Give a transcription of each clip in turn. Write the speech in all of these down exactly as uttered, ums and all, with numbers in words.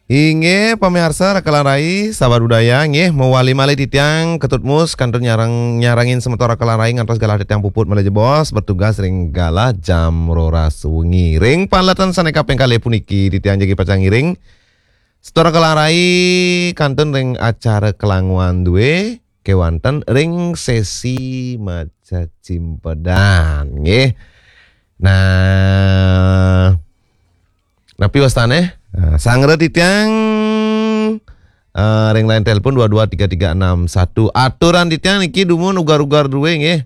Inggih, pamiarsa Raka lan Rai, sahabat budaya, nggih, mawali malih titiang Ketut Mus kantun nyarang, nyarengin semeton Raka lan Rai ngantos galah titiang puput malih jebos bertugas ring galah jam roras wengi. Ring paletan sane kaping kalih puniki titiang jagi pacang ngiring semeton Raka lan Rai kantun ring acara Kelanguan Due kewanten ring sesi maca cimpedan, nggih. Nah, napi wastane? Nah, sanggra titiang, eh, ring line telepon dua dua tiga tiga enam satu. Aturan titiang niki dumun ugar-ugar due, nggih.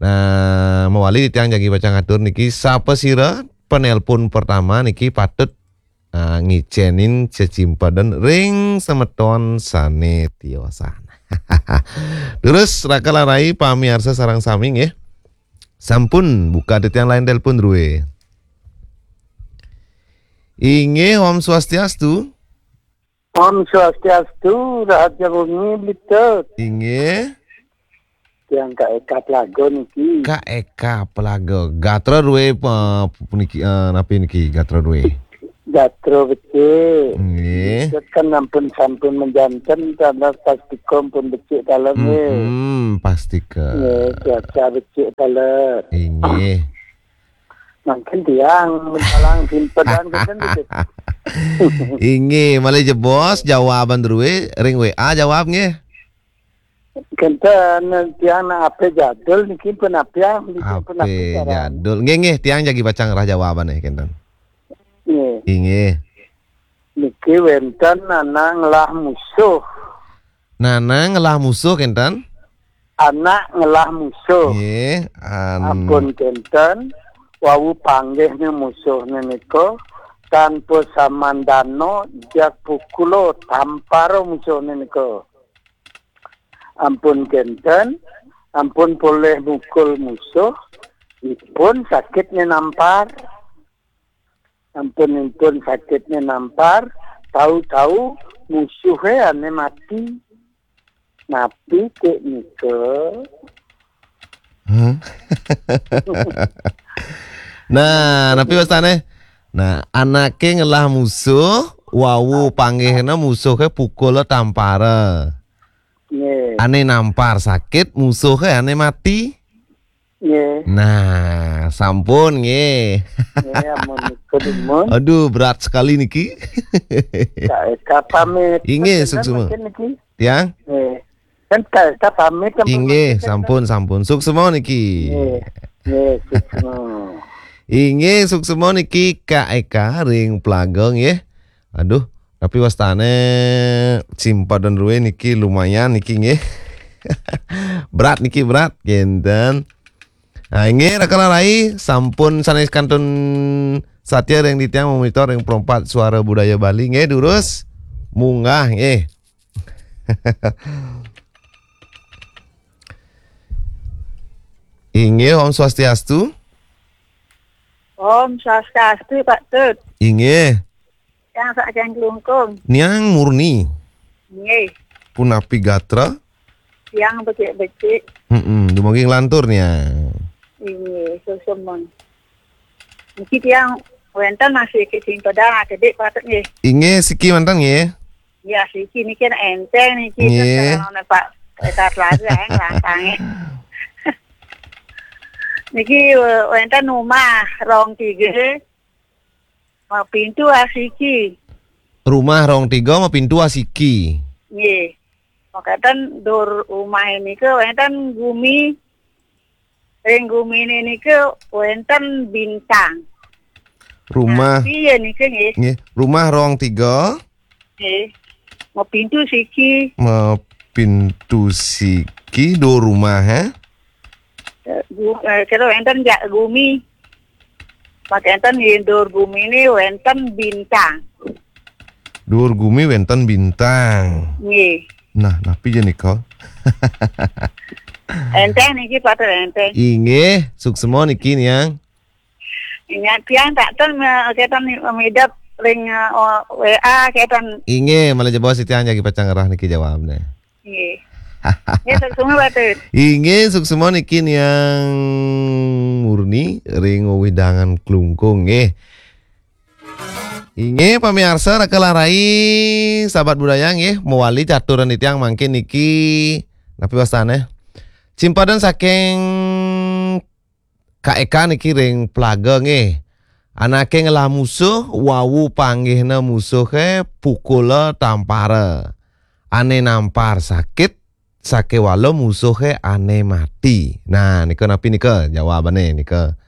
Nah, mawali titiang jagi pacang atur niki, sapasira penelpon pertama niki patut, eh, ngicenin cecimpedan ring semeton sane tiosan. Terus, Raka lan Rai, pamiarsa sareng sami, nggih. Sampun buka titiang line telepon due. Inggih, Om Swastiastu. Om Swastiastu, rahayu wengi, Bli Tut. Inggih. Tiang Kak Eka Plago niki. Kak Eka Plago. Gatra due pa-, puniki, eh, napi niki gatra due? Gatra becik. Nggih. Bli Tut kan ampun sampun majanten, tanda pastika pun becik dalem, nggih. Hmm, pastika. Nggih, cuaca becik dalem. Inggih. Mangkin tiang mentalang simpedan kenten gitu. Inggih, malih jebos jawaban drue ring W A jawab nggih. Kenten tiang nak ape jadul niki pun apiang, niki pun ape Ape saran. Jadul. Nggih, nggih, tiang jagi pacang ngerah jawabane kenten. Nggih. Inggih. Niki wenten anak ngelah musuh. Nanang ngelah musuh kenten? Anak ngelah musuh. Nggih, an- Ampun kenten, wau panggihne musuhne nika, tanpa samandana jag pukula tampara musuhne nika. Ampun kenten, ampun polih mukul musuh, ipun sakitne nampar. Ampun-ampun sakitne nampar, tau-tau musuhe ane mati. Napi kek nika? Hah? Nah, napi wastane? Nah, anake ngelah musuh, wau panggihna musuhe pukula tampara. Nggih. Ane nampar sakit, musuhe ane mati. Nggih. Nah, sampun nggih. Nggih, amun nika dumun. Aduh, berat sekali niki. Kak Eka pamit. Inggih, Kak Eka suksma. Mungkin niki. Tiang? Nggih. Kan Kak Eka pamit, kan Inggih, pamit, kan? Sampun, sampun. Suksma niki. Nggih. Nggih, suksma. Inggih, suksma niki Kak Eka ring Plaga nggih. Aduh, tapi wastane simpedan rue niki lumayan niki nggih. Berat niki, berat, kenten. Nah, inggih, Raka lan Rai, sampun sanes kantun satia ring titiang monitor ring Perempat Suara Budaya Bali nggih, durus munggah nggih. Inggih, Om Swastiastu. Om Swastiastu, Pak Tut. Inggih. Yang saking Klungkung. Niang Murni. Nggih. Punapi gatra? Tiang becik-becik. Mm-mm, dumugi nglantur niang. Inggih, suksma. Niki tiang wenten masih ke simpedan akedik patut nggih. Inggih, siki manten nggih. Ya, siki niki enteng niki. Nggih. Kan kalau Pak Etat lagi yang langkange. Niki, eh, wenten rumah rong tiga. Mapintu asiki. Rumah rong tiga mapintu asiki. Nggih. Makaten dur rumah nika wenten gumi. Ring gumine nika wenten bintang. Rumah. Nah, iya nika nggih. Nggih, rumah rong tiga. Nggih. Mapintu siki. Mapintu siki dur rumah, eh? Eh, gu-, eh, kira wenten jak gumi. Makaten nggih dur gumine wenten bintang. Dur gumi wenten bintang. Nggih. Nah, napi ja nika? Enteng niki patut enteng. Inggih, suksma niki niang. Ingat tiang tak ten me-, keten midep ring, eh, o-, W A keten. Inggih, malih jebos titiang jagi pacang ngerah niki jawabne. Nggih. Nggih, suksma, Pak Tut. Inggih, suksma niki niang Murni ring wewidangan Klungkung nggih. Inggih, pamiarsa, raka lan rai, sahabat budaya, nggih, mawali caturan titiang mangkin niki, napi wastané? Cimpedan saking Ka Eka niki ring Plaga, nggih. Anaké ngelah musuh, wau panggihna musuhé, pukula tampara. Ané nampar sakit, sakéwala musuhé ané mati. Nah, nika napi nika jawabané nika?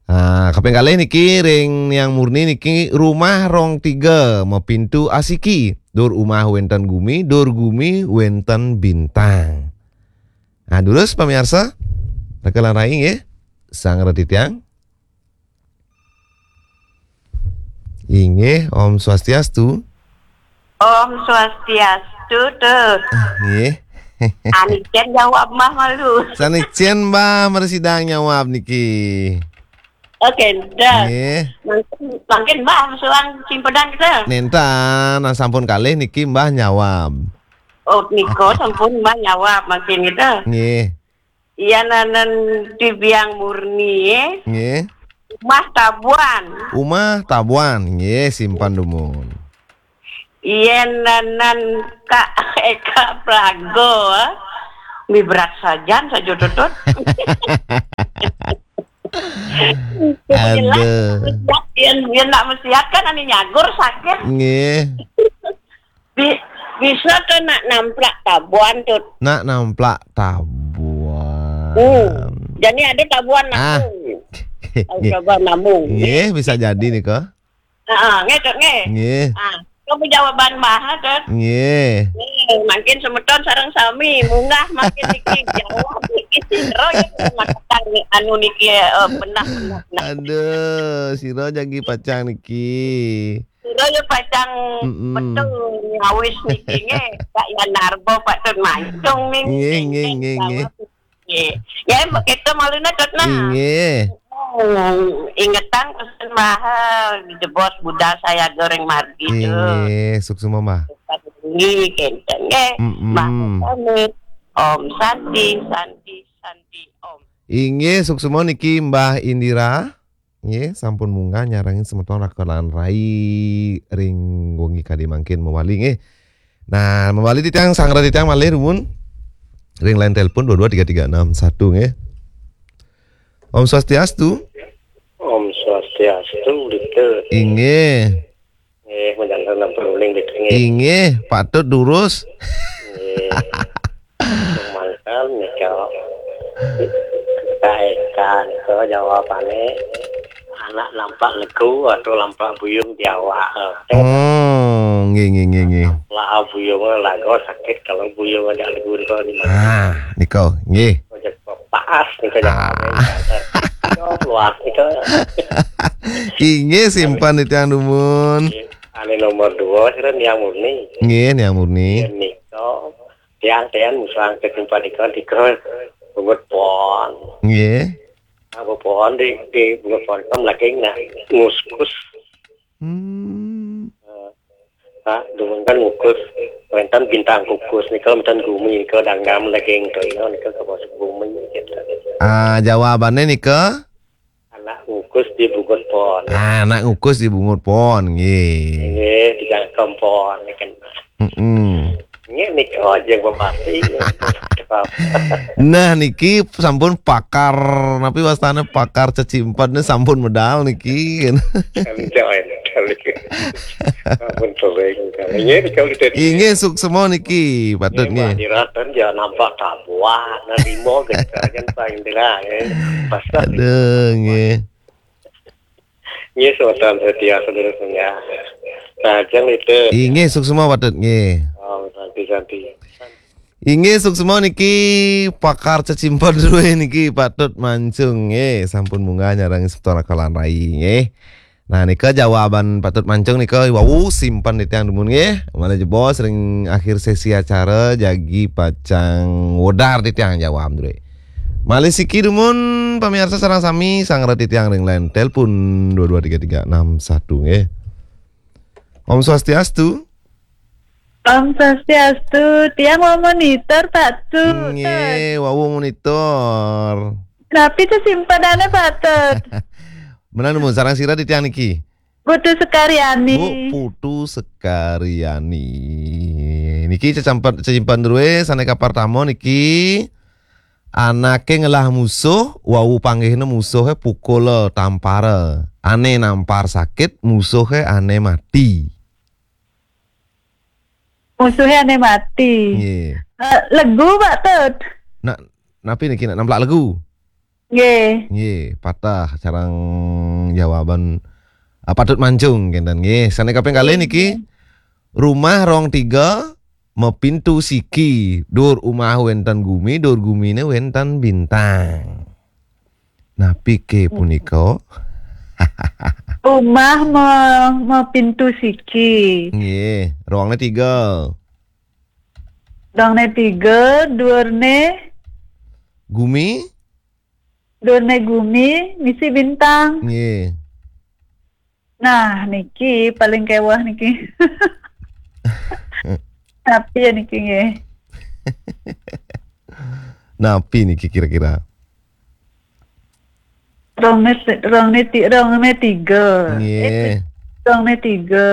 Ah, kaping kalih niki ring Niang Murni niki, rumah rong tiga, mapintu asiki. Dur umah wénten gumi, dur gumi wénten bintang. Nah, durus pamiarsa, raka lan rai nggih. Sang reti tiang. Inggih, Om Swastiastu. Om Swastiastu, Tut. Ah, nggih. Anicen jawab mah malu. Sanicen, Mbah, mresidang nyawab niki. Oké, dah. Nggih. Mangkin, mangkin Mbah suang cimpedan kita. Nénten, nah, sampun kalih niki Mbah nyawab. Oh, nika sampun Mbah nyawab mangkin kita. Nggih. Iya, nanan di Biang Murni, ya. Nggih. Umah Tabuan. Umah Tabuan, nggih, simpen dumun. Iya, nanan Kak Eka Prago, mi berat sajan saja, Tutut. Aduh. Yen, yen nak mesiat kan ane nyagur sakit. Nggih. Bi-, bisa ke nak namplak tabuan, Tut. Nak namplak tabuan. Hmm. Jadi ada tabuan, ah, nabung. Tahu, nggih, coba nabung. Nggih, bisa jadi nika. Heeh, nggih, Tut, nggih. Nggih. Ah, kamu jawaban mah, Tut. Nggih. Nggih, mangkin semeton sareng sami munggah mangkin niki jawab niki sira ya, makakan anu niki, eh, benah, benah, benah. Aduh, sira jagi pacang niki. Sira ya pacang, mm-mm, betul nyawis niki nggih. Kak Yan Narbo patut mancung ning. Nggih, nggih, nggih, nggih. Nggih. Ya, kita maluna, Tut, nah. Nggih. Hmm, ingetang pesen mahal di jebos budal saya goreng margi, Tut. Nggih, suksma, Mbah. Nggih, kenten nggih. Mm-mm. Mbah pamit. Om Santi, Santi, Santi, Om. Inggih, suksma niki Mbah Indira. Nggih, sampun munggah nyarengin semeton raka lan rai ring wengi kadi mangkin mawali nggih. Nah, mawali titiang, sanggra titiang malih dumun ring line telepon dua dua tiga tiga enam satu nggih. Om Swastiastu. Om Swastiastu, Dita. Inggih. Nggih, majanten ampun uling, Dita, nggih. Inggih, patut durus. Nggih. Mangkal nika. Kaekan ke jawabane, anak nampak legu atau nampak buyung di awak. Oh, nggih, nggih, nggih, nggih. Lah buyung lagu sakit kalau buyung ajak legu nika di mana? Ah, nika, nggih. Ojek paas nika, ah, jawabane. Yo, luas nika. Inggih, simpen titiang dumun. Nggih. Ane nomor dua, sira Niang Murni. Nggih, Niang Murni. Nggih, nika. Tiang-tiang musang ketimpa nika, nika bungut pohon. Nggih. Apa pohon di, di bungut pohon kan lagi nak nguskus. Hmm. Eh, Pak, dumun kan ngukus. Wénten bintang kukus nika, wénten gumi nika, danggam lagi nika, nika ke bawah bumi gitu. Ah, jawabannya nika? Anak ngukus di bungut pohon. Ah, anak ngukus di bungut pohon, nggih. Nggih, di jangkem pohon, nggih kan. Mm-mm. Nggih, nika aja bupati. Nah, niki sampun pakar, napi wastane, pakar cecimpedan sampun medal niki. Enjoy, enjoy. Ampun sering. Nggih, nika udah. Inggih, suksma niki, patut nggih, nggih. Pak Diratan ya nampak tabuan, nah, limo gitu, kan paling dirah, ya. Pasal. Aduh, nggih. Nggih, semeton setia, saudara setia. Nah, jang itu. Inggih, suksma patut nggih. Oh, santi, santi. Inggih, suksma niki pakar cecimpedan niki patut mancung nggih. Sampun munggah nyarengin semeton raka lan rai nggih. Nah, nika jawaban patut mancung nika wau, simpen titiang dumun nggih. Malih jebos ring akhir sesi acara jagi pacang wedar titiang jawab, Dre. Malih siki dumun, pamiarsa sareng sami, sanggra titiang ring line telepon dua dua tiga tiga enam satu nggih. Om Swastiastu. Om Swastiastu, tiang mau monitor, Pak Tut. Nggih, wau monitor. Napi cecimpedannya, Pak Tut? Menawi dumun, sareng sira titiang niki. Putu Sekaryani. Bu Putu Sekaryani. Niki cecampat cecimpan druwe sane kapertama niki anake ngelah musuh, wau panggihne musuhe pukula tampara. Ane nampar sakit, musuhe ane mati. Musuhe ane mati. Nggih. Eh, legu, Pak Tut. Nak, napi niki nak nemplak legu? Nggih. Nggih, patah sareng jawaban, ah, patut mancung kenten nggih. Sane kaping kalih niki, rumah rong tiga, mepintu siki, dur umah wenten gumi, dur gumine wenten bintang. Napi ke punika? Rumah me, mepintu siki. Nggih, ruangne tiga. Ruangne tiga, durne Gumi? Durne gumi, misi bintang. Nggih. Nah, niki paling kewah niki. Tapi ya niki nggih. Napi niki kira-kira? Ruangne, ruangne ti-, ruangne tiga. Nggih. Eh, ruangne tiga.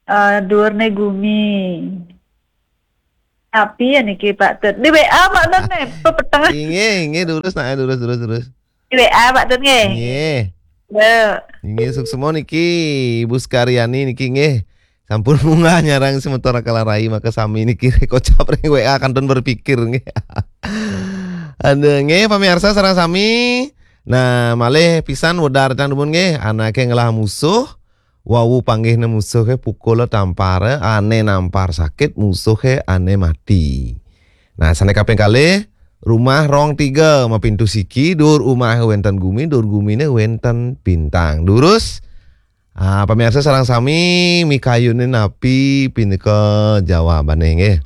Eh, durne gumi. Tapi ya niki Pak Tut. Di W A Pak Tut nih, pepetengah. Inggih, inggih, durus, nah, durus, durus, durus. Di W A Pak Tut nggih. Nggih. Ya. Inggih, suksema niki Ibu Sekaryani niki nggih. Sampun munggah nyarang semeton Kalarai, maka sami niki kocap ring W A kantun berpikir nggih. Aduh, nggih, pamirsa sareng sami. Nah, malih pisan wedar tang dumun nggih, anake ngelah musuh, wau panggihne musuhe pukula tampara, ane nampar sakit, musuhe ane mati. Nah, sane kaping kalih, rumah rong tiga, mapintu siki, dur umahe wenten gumi, dur gumine wenten bintang. Durus? Ah, pamirsa sareng sami, mikayune napi pinika jawabane nggih.